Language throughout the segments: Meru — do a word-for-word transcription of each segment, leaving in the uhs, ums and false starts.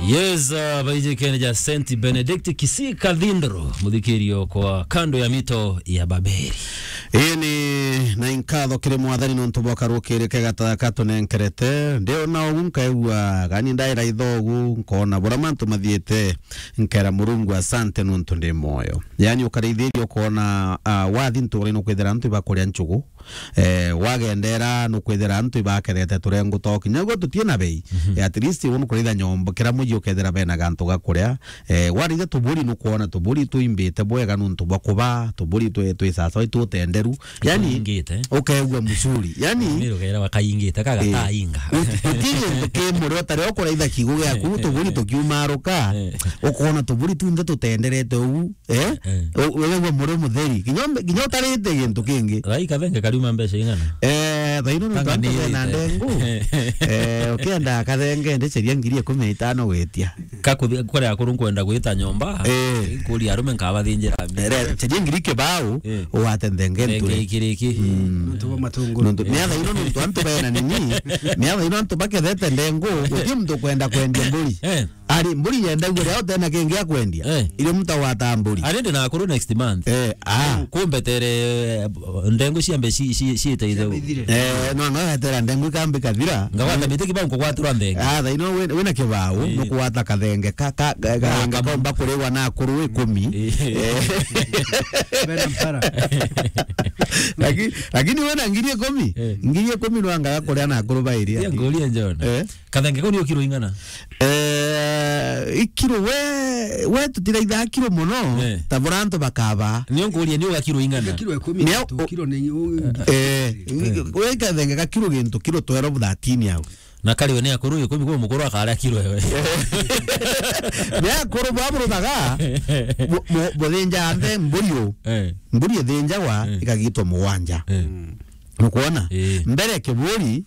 Yes, uh, baijikene ja Saint Benedict Kisii Cathedral, muthikirio kwa kando ya mito ya Babeli. Ii ni na inkatho kiri Mwathani nontu bwa karukiri kega taka tunenkerete. Ndiona ugu nkaigua, gani ndaira ithogu, nkona bura mantu mathiite, nkera Murungu asante nontu ndi mwoyo. Yani ukaraithiria ukona, uh, wathi ntuura-ini ukwithira antu ibakuria nchugu, eh, wagendera nukwithira antu ibakethete turengu to kinya gwe tutie na bei. Mhm. Eh, at least uu nukuritha nyomba, kira muji ukethira bena gantu ga kuria. Eh, waritha tuburi nukwona tuburi twimbite bwega nuntu bwa kuba, tuburi twi, twi sasawa, itwi utenderu. Yani, tuingite. Ukeigua mzuri. Yani, miro gaira wakaingite, kaga eh, tainga. Uti, uti gintu ki murio, ta riria ukuraitha kiugo giaku, tuburi tukiumaruka, eh, ukona tuburi tunthe tutenderete uu. Eh? Eh. U-, wewe mure mutheri. Kinya, kinya utarite gintu kingi. Rai kathenge kariuma mbeca ing'ana? Eh, thaino nontu antu bena ndengu. Eh, ukienda kathenge ndiceria ngiri ikumi na itano gwitia. Kakuthi-, kuri akuru nkwenda gwita nyomba. Eh. Kuri arume nkabathinjira mbia. Eh, ceria ngiri kibao, eh, ugate nthenge nture. Nthenge ikiriki. Mm. Nontu bwa matunguru. Nontu, ni athaino nontu antu bena nini, ni athaino antu bakethete ndengu, guti muntu kwenda kwendia mburi. Eh. Ari, mburi yendagua riria utena kingi akwendia. Eh. Irio muntu agwata mburi. Ari ndi na akuru next month. Eh, ah. Kumbetere, eh, ndengu ciambe ci-, ci-, ciite itheu. Ciambe ithire. Eh, no, ngagatera ndengu ikambi kathira. Ngagwata miti kibao nkugwatirwa nthenge. Ah, thaino wi-, wina kibao, eh, nukugwata kathenge ka, ka, ka, kathenge kaumba kuriwa na akuru ikumi. Eh. Eh. Bena mpara. Laki-, lakini wina ngiri ikumi? Eh. Ngiri ikumi nwangaga kuria na akuru bairia. Tia ngurie John. Eh. Kathenge kau nio kiro ing'ana? Eh, ikiro we, we tutiraithaga kiro mono, eh, ta bura antu bakaba. Nio nkuria, nio ga kiro ing'ana? Kiro ikumi na tu, kiro ni u-, eh, eh, we kathenge ga kiro gintu, kiro twelve, thirteen au. Na kari we ni akuru ikumi, kwa mukuru akaria kiro ewe. Ni akuru bwa buruthaga, bu-, bu-, buthinja nthe mburi u. Eh. Mburi ithinjagwa, eh, ikagitwa mugwanja. Eh. Nukwona? Eh. Mbere kiburi,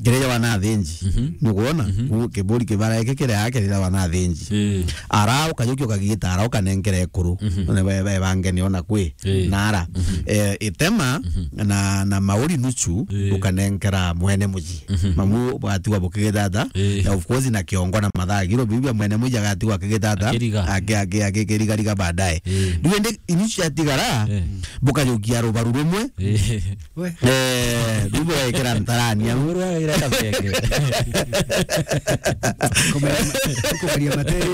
kirejagwa na athinji. Mhm. Nukwona? Mhm. Ku-, kiburi kibara giki kiria kirejagwa na athinji. Eh. Ara ukajukia ukagita, ara ukanenkera ekuru. Mhm. None be, be bange niona kwi. Eh. Na ara. Mhm. Eh, itema, mhm, na, na mauri nuchu, eh, ukanenkera mwene muji. Mhm. Mamu bwatigwa bukigitata. Eh. Na of course na kiongo na mathagiro, biu bia mwene muji agatigwa akigitata. Akiriga. Aki-, aki-, akikiriga riga baadaye. Eh. Riu indi inuchu ciatigara, eh, bukajukia rubaru rumwe. Eh. We. Eh, riu bugekira ntarani au. Uru agaira kabenge. Kumeria ma-, kumeria matere.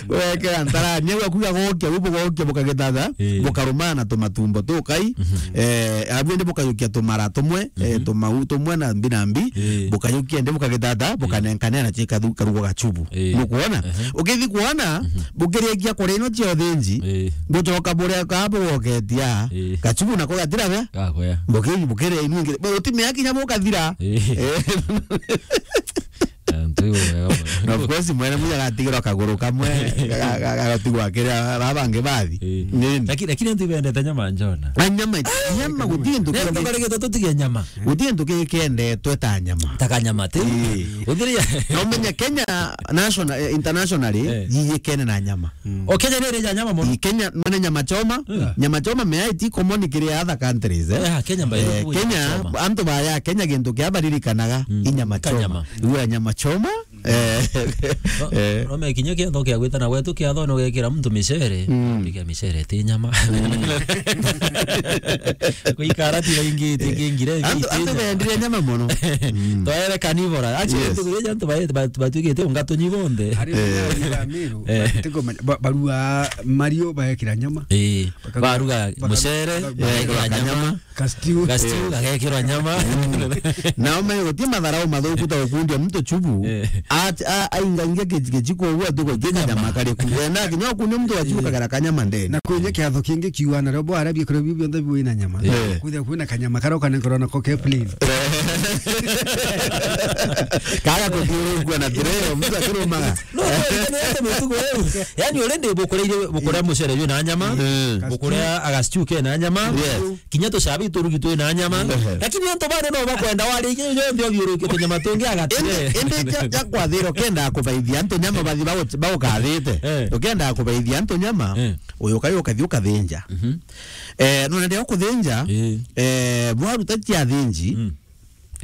Bugekira ntarani au, akuga gokia, riu bugokia bukagitata, eh, bukarumana tumatumbo tukai, mhm, eh, abu indi bukajukia tumara tumwe, eh, mhm, tumau tumwe na mbi na mbi, eh, bukajukia indi bukagitata, eh, bukanenkanea na chika thu-, karugo gachubu. Eh. Nukwona? Ehe. Ukithi kwona, mhm, bukirikia kuria ino cia uthinji, eh, bucoka buria ka bugoketia, eh, gachubu nako gatira bea. Gakwea. Buki-, bukiria inu ingi. Bo, utimea kinya bukathira. Eh. Eh. Antu iwe wega mono. Na of course, mwene muja gatigirwa kaguru kamwe, ga-, ga-, ga-, gagatigwa akiria, ba-, bangi bathi. Eh. Nini? Laki-, lakini antu ibendete nyama njona. Na nyama, nyama guti gintu kingi. Nento karegetwo tutige nyama. Guti gintu kingi kiendetwe ta nyama. Ta kanyama, ti? Ii. Uthiria. Na umenye Kenya national, eh, internationally, eh, yiyikene na nyama. Mm. O Kenya ni iri ya nyama mono? Ii, Kenya, mane nyama choma. Mm. Nyama choma mea iti common kiri other countries, eh. Eh, Kenya, by the way, Kenya, nyama choma. Antu baya Kenya gintu kia baririkanaga, mm, i nyama choma. Kanyama. Iwe nyama choma, eh, no, eh, no mekinya kiatho kia gwitana gwetu kiatho no gekira muntu micere, mm, ambike micere ti nyama. Mm. Kuikara ti baingi, ti kingire, antu, ti antu nyama. Bendire nyama mono. Mm. Twaere carnivore. Actually, yes, tukugeja antu ba, ba, batuigite unga tunyi bonthe. Ari, eh, ba Miru, eh, batikumenya, ba, barua mario baekira nyama. Eh, bakaruga, baruga baka-, mucere, ba-, baekira nyama. Kastiu. Kastiu, eh, gagekirwa nyama. Mm. Nao me guti matharau mathuku ta gukundia muntu chubu. Eh. A, a, aingaingia ki-, kichiko uguo atuko kanyama kariku. Wenda kinya ukunia muntu wa chubu, eh, kagera kanyama ndeni. Na kwinya kiatho kingi kiuga na robo arabia kuri biu bionthe biu ina nyama. Eh. Kwithia kwina kanyama karia ukanenkerwa nako ke plain. Kaga kuthiurukua na tray, muntu akirumaga. No, no, no, no, no, no, no. Yani, already bukuria, bukuria mucere yu na nyama, mm, bukuria agastew ke na nyama, yes, kinya tucabi turugi twi na nyama. Ehe. Lakini antu bana no bakwenda wari inya yonthe othiurukite nyama tungi agatire. Indi, indi ja, ja kwathira ukenda kubaithia antu nyama bathi bagu-, bagukathite. Eh. Ukenda kubaithia antu nyama, eh, uyu kai ukathi ukathinja. Mhm. Eh, nona ndio kuthinja, eh, eh, bwaruta cia thinji, mm,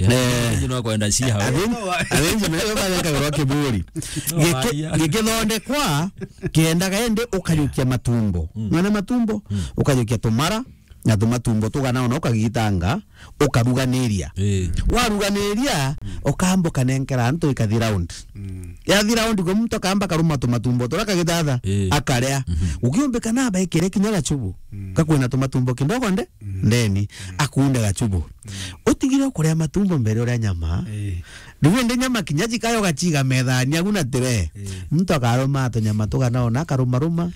Eh. Athĩnji no kwenda cia hau. Athĩnji, athĩnji me yo bathekagĩrwo kĩburi. No, gĩkĩ-, maria. Gĩkĩthondekwa, kĩendaga ĩndĩ ũkayũkia matumbo. Mm. Mwana matumbo, mm, ũkayũkia tũmara, na tũmatumbo tũgana ona ũkagitanga, ũkaruganĩria. Ĩĩ. Waruganĩria, ũkamba ũkanenkera antũ ikathi round. Mm. Yathi round, kwe muntu akamba karuma tũmatumbo tũrĩa kagĩthatha, ĩĩ, akarĩa. Mhm. Ũkĩũmbĩka na abaĩkĩre kinya gachubu. Mm. Gakwĩna tũmatumbo kidogo nde-, mm, ndeni, mm, akunde gachubu. Mm. Ũtigire kũrĩa matumbo mbere ũrĩa nyama. Ĩĩ. Riu indi nyama kinya jikayo gachiga methani agu na tire. Ĩĩ. Muntu akaruma tũnyama tũgana ona akarumaruma.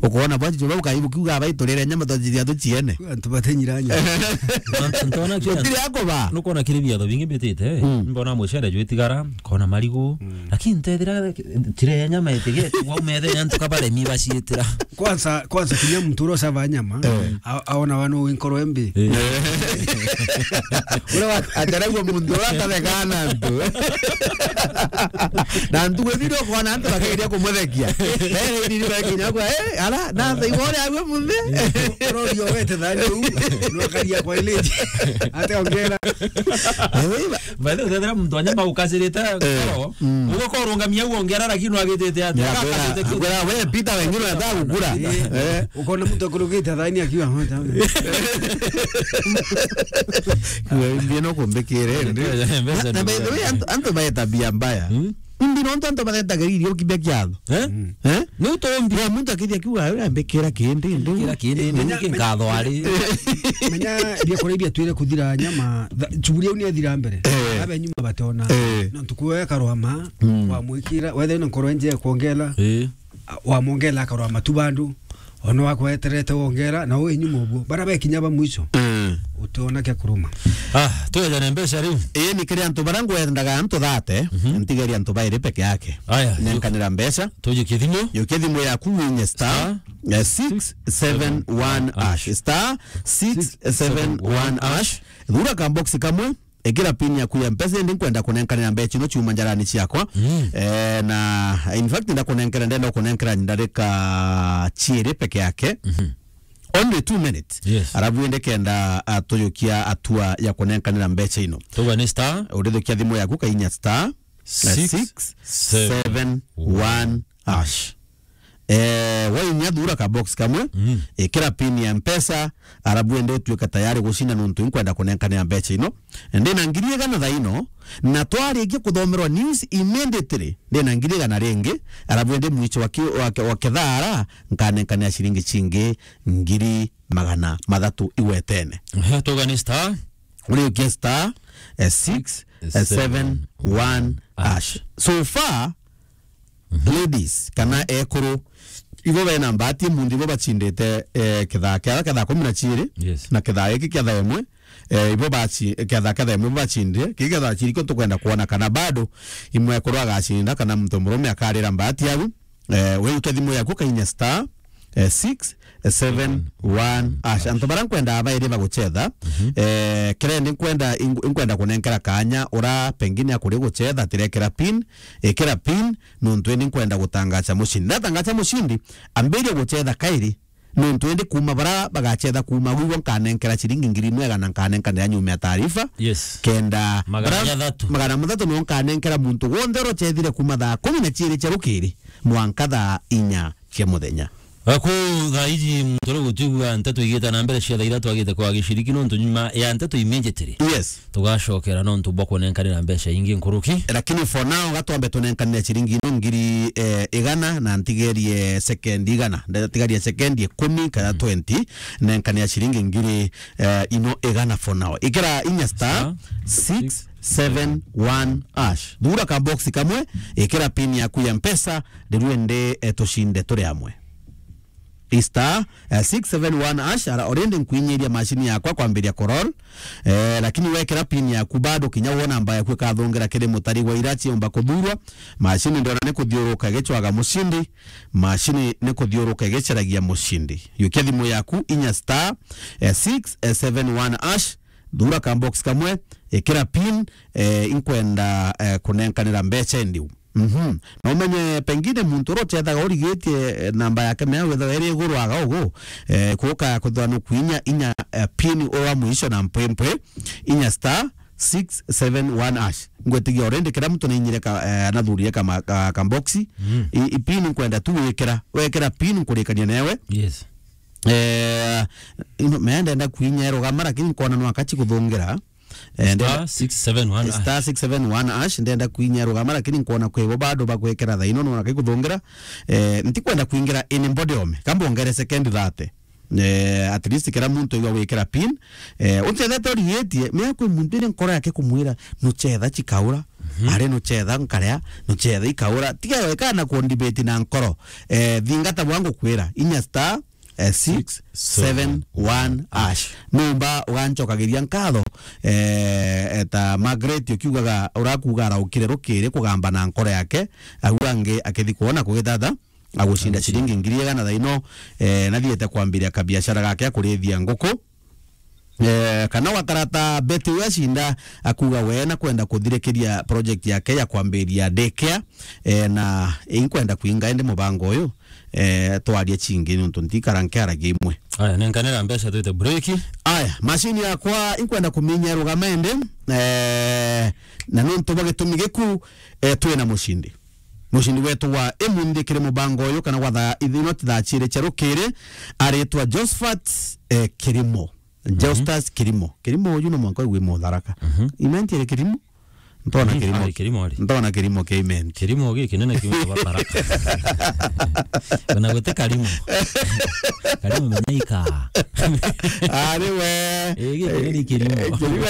Ukoona bwa jicho bau kaibu kiuga bai turire nyama twajiria tuchiene. Antu batenyira nyama. Ntona kiri. Gutire akuba. Nukona kiri biatho bingi mbitite, eh. Mm. Mbona mucere jwitigara, kona marigu. Mm. Lakini ntethira tire nyama itige, waumethe antu kabaremi baciitira. Kwanza, kwanza kinya muntu uria ucaba nyama, eh, a-, aona wanu winkoro embi. Eh. Uria wa-, ataragua muntu uria atathekaa na antu. Na ntugu ithiri ukona antu bakegeria kumuthekia. Eh, ni, ni, ni, kinya kwa, eh, ara, na tha ibo uria agwe munthe. Urorio wete thani u, nwakaria kwa ileji. Ate ongera. Eh, we, ba- By the way, uthethera muntu wa nyama ukacirite, eh, ngoro, mm, ugokorwo urungamia uongera, lakini nwagitite ati, ya, akacite kwira, kiu. Kwira, we, Peter, wengine wanataka kukula. Eh. Eh. Ukona muntu akurugite thani akiwa, "Hota." Wewe ndiye no kumbikire, ndi. Mbeca. Na, na by the way, antu, antu bae tabia mbaya. Hmm? Ndi no antu batetaga irio kibia kiatho. Eh? Eh? Ni utombi. Ya muntu akithia kiuga, "Wewe mbikira kindi, ndi." Kira kindi, ndi. Menya, menya, menya, bia kuria bia twire kuthira nyama, tha-, chuburi au ni athira mbere. Eh. Abe nyuma batona. Eh. No ntuku we karwama, mm, wamwikira, wethe na nkoro nje kuongela. Eh. A, wamwongela akarwa matu bandu, ona wakweterete wongera, na wi nyuma uguo. Bara bekinya ba mwisho, mm, utiona kia kuruma. Ah, twejane mbeca riu. Ii, ni kiri antu bara ngwendaga antu thate, mhm, ntigeria antu bairi peke yake. Aya, nenkanira mbeca. Tujukie thimu. Yukia thimu yaku winye star, star, eh, six seven one hash. Star six seven one hash. Thura ka box kamwe. Ikira pin yaku ya Mpesa, indi nkwenda kunenkanira mbeca ino ciuma njarani ciakwa. Mm. Eh, na in fact, ndakunenkera, ndenda kunenkera ndarika ciiri peke yake. Mhm. Only two minutes. Yes. Arabu indi kenda atujukia atua ya kunenkanira mbeca ino. Tuga ni star. Urithukia thimu yaku kainya star, eh, six seven one hash. Eh, wainya thura ka box kamwe, mm, ikira pin ya Mpesa, arabu ende utuike tayari gucinda nuntu inkwenda kunenkanira mbeca ino. Ndina ngiri igana thaa ino, na twarikia kuthomerwa news immediately, ndina ngiri igana ringi, arabu ende mwicho wa ki-, wa ke-, wa kethaara, nkanenkanira ciringi cingi ngiri magana mathatu igwetene. Ehe, tuga ni star. Uriukia star, eh, six seven one hash. So far, mhm, ladies, kana ekuru, ibo bena mbati munthi ibo bachindite, eh, kethaa kia, kethaa kumi na chiiri, yes, na kethaa giki kia thaa imwe, eh, ibo bachi-, kethaa kia thaa imwe ibo bachindire, kii kethaa chiiri kio tukwenda kuona kana bado imwe ekuru agacinda kana muntu murume akarira mbati au. Eh, we ukia thimu yaku kainya star, eh, six seven one hash. Antu bara nkwenda bairi baguchetha, mhm, eh, kira ndi nkwenda, ing-, nkwenda kunenkera kanya ura pengine akuri guchetha, tirekera pin, ikira pin, nuntu indi nkwenda gutangacha mushindi. Ndatangacha mushindi, ambiria guchetha kairi, nuntu indi kuma bara bagachetha kuma gwigwo nkanenkera ciringi ngiri imwe igana nkanenkanira nyuma ya taarifa. Yes. Kenda magana bara-, mathatu. Magana mathatu no nkanenkera muntu wonthe urocethire kuma thaa kumi na chiiri cia rukiri mwanka thaa inya cia muthenya. Aku thaa iji muntu uri gutwigua nteto igite na mbere cia thaa ithatu agite kwa giciriki nontu nyuma ya nteto immediately. Yes. Tugacokera nontu bwa kunenkanira mbeca ingi nkuruki. Lakini for now, gatwambe tunenkanire ciringi ino ngiri, eh, igana na ntigerie sekendi igana. Ndatigarie sekendi ikumi kana, mm, twenty, nenkanire ciringi ngiri, eh, ino igana for now. Ikira inya star, star six seven one hash. Thura ka box kamwe, ikira pin yaku ya Mpesa, riu ende, eh, tucinde turi amwe. Star, eh, six seven one hash, ara already nkwinyiria machine yakwa kwambiria kurol. Eh, lakini wekira pin yaku bado kinya wona namba yaku ikathungira kiri mutari wa ira ciomba kuthurwa. Machine ndona ni kuthiuruka igicwaga mushindi. Machine ni kuthiuruka igicaragia mushindi. Yukia thimu yaku inya star, eh, six seven one hash, thura ka box kamwe, ikira pin, eh, inkwenda, eh, kunenkanira mbeca endiu. Mhm. Na umenye pengine muntu uria uchethaga urigitie, eh, namba yake mea wethaga iri iguru aga ugu, eh, kuuka kwithirwa ni kwinya inya, eh, pin uria wa mwisho na mpwimpwi, inya star six seven one hash. Ngwetigia already kila mtu nainyire ka, eh, nathurire kama, ka, ka box. Mm. I, i pin nkwenda tu wikira, wekira pin nkurikania newe. Yes. Eh, ino, me ndenda kwinya erugama, lakini nkona no akachi kuthungira. Eh, ndenda star six seven one hash. Star six seven one hash, ndenda kwinya erugama, lakini nkona kwibo bado bagwikira thaino no akaikuthungira. Eh, ntikwenda kwingira in body ome. Kamba ongere second thirty. Eh, at least kira muntu igwa gwikira pin. Eh, uncethete urigitie, mea kwi muntu iri nkoro yake kumwira, nucetha chikaura, mhm, ari nucetha nkaria, nucetha ikaura. Tiga wekana ku debate na nkoro. Eh, thingata bwa ngukwira, inya star, eh, six seven one hash. Numba ugancokagiria nkatho, eh, eta Margaret ukiugaga, urakuuga araukire rukiri kugamba na nkoro yake, au angi akithi kwona kugitata, agucinda ciringi ngiri igana thaa ino, eh, nathiete kwambiria kabiashara gake akurithia nguku. Eh, kana wakarata Betty uria acinda akuga we na kwenda kuthirikiria project yake ya kwambiria daycare, eh, na inkwenda kwinga indi mubango uyu, eh, twarie chingi nontu ntikara nkiaragia imwe. Aya, nenkanira mbeca twite break. Aya, machine yakwa inkwenda kuminya irugama indi, eh, na nontu bwa gitumi giku, eh, twina mucindi. Mucindi wetu wa imunthi kiri mubango uyu kana gwa thaa ithino thaa ciiri cia rukiri aritwa Josephat, eh, Kirimo. Mhm. Justus Kirimo. Kirimo uyu no mwanka wi Mutharaka. Mhm. Imenti iri Kirimo? Ntona Kirimo. Ari Kirimo ari. Ntona Kirimo ke Imenti. Kirimo gi kinene kiu ba Tharaka. Kana gwete Karimo. Karimo menyaika. Ari we. Eh, gi kinene Kirimo. Eh, Kirimo.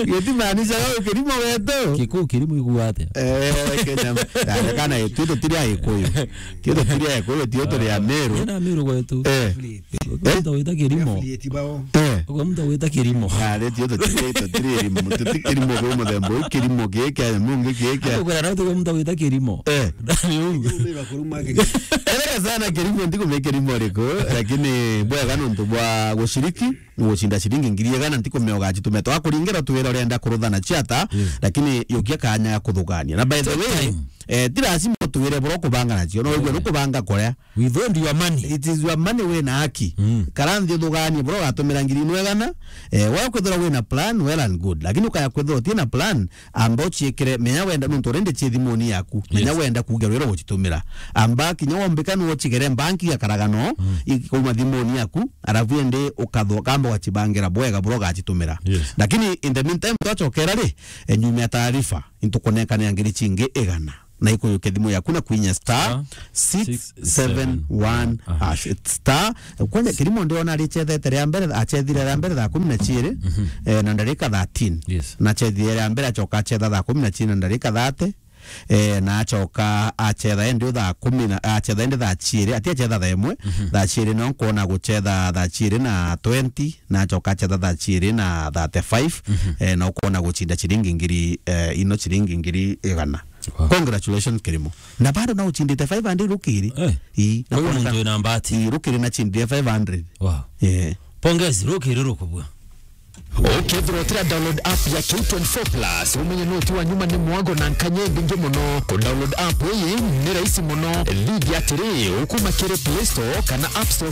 Gitimanisha gau Kirimo wetu. Kiku Kirimo iguate. Eh, Kenya. Kana tu tutiri Agikuyu. Tio tutiri Agikuyu, tio turi Ameru. Ena Ameru gwetu. Eh. Mtu wita Kirimo. Eh. Kwa mtu wita Kirimo. Ah, le tio tutiri, tutiri Kirimo. Tuti Kirimo kwa muthemba uyu, Kirimo giki, mungi giki. Kwa na mtu wita Kirimo. Eh. Ndani huu. Erega sana Kirimo, ndiko me Kirimo riko, lakini bwega nontu bwa gushiriki. Ugucinda ciringi ngiri igana, ntikumea ugacitume. Twakuringira tuwira urenda kuruthana ciata, yes, lakini yukia kanya ya kuthugania. Na by the way, eh, ti lazima tuwire bura kubanga nacio. No, igue nukubanga kuria. Withhold your money. It is your money, wina haki. Mm. Kara nthi uthuganie bura ugatumira ngiri ino igana. Eh, we kwithira wina plan, well and good. Lakini ukaya kwithira utina plan, amba uciikire, menya wenda, nontu rindi ci thimuni yaku. Menya, yes, wenda kugerwa ira gucitumira. Amba kinya wombika no ucigere mbanki ya karagano, mm, ikauma thimuni yaku, arafu indi ukatho-, kamba ugacibangira bwega bura ugacitumira. Yes. Lakini in the meantime, twacokera ri, e, nyuma ya taarifa, intukunenkanira ngiri cingi igana. Na ikuyukia thimu yaku na kwinya star six seven one hash. Star, kwanja Kirimo ndiona aricethete ria mbere, acethire ria mbere thaa kumi na ciiri, mhm, eh, na ndarika thirteen. Yes. Na acethire ria mbere, acoka acetha thaa kumi na ciiri na ndarika thirty. Eh, na acoka acetha endi thaa kumi na, acetha endi thaa ciiri, ati acetha thaa imwe, mhm, thaa ciiri no nkona gucetha thaa ciiri na twenty, na acoka acetha thaa ciiri na thirty-five, mhm, eh, na ukona gucinda ciringi ngiri, eh, ino ciringi ngiri igana. Wow. Congratulations, Kirimo. Na bado na uchindite five hundred rukiri. Eh. Ii, na kwa hiyo kuoneka muntu wina mbati. Ii, rukiri na chindire five hundred. Wow. Eh. Pongezi, rukiri rukubua. Ukethirwa utira download app ya K twenty-four plus, umenye no ti wa nyuma ni mwago na nkanya ibingi muno. Ku download app iyi ni rahisi muno. Ligi atiri, ukuma kiri Play Store kana App Store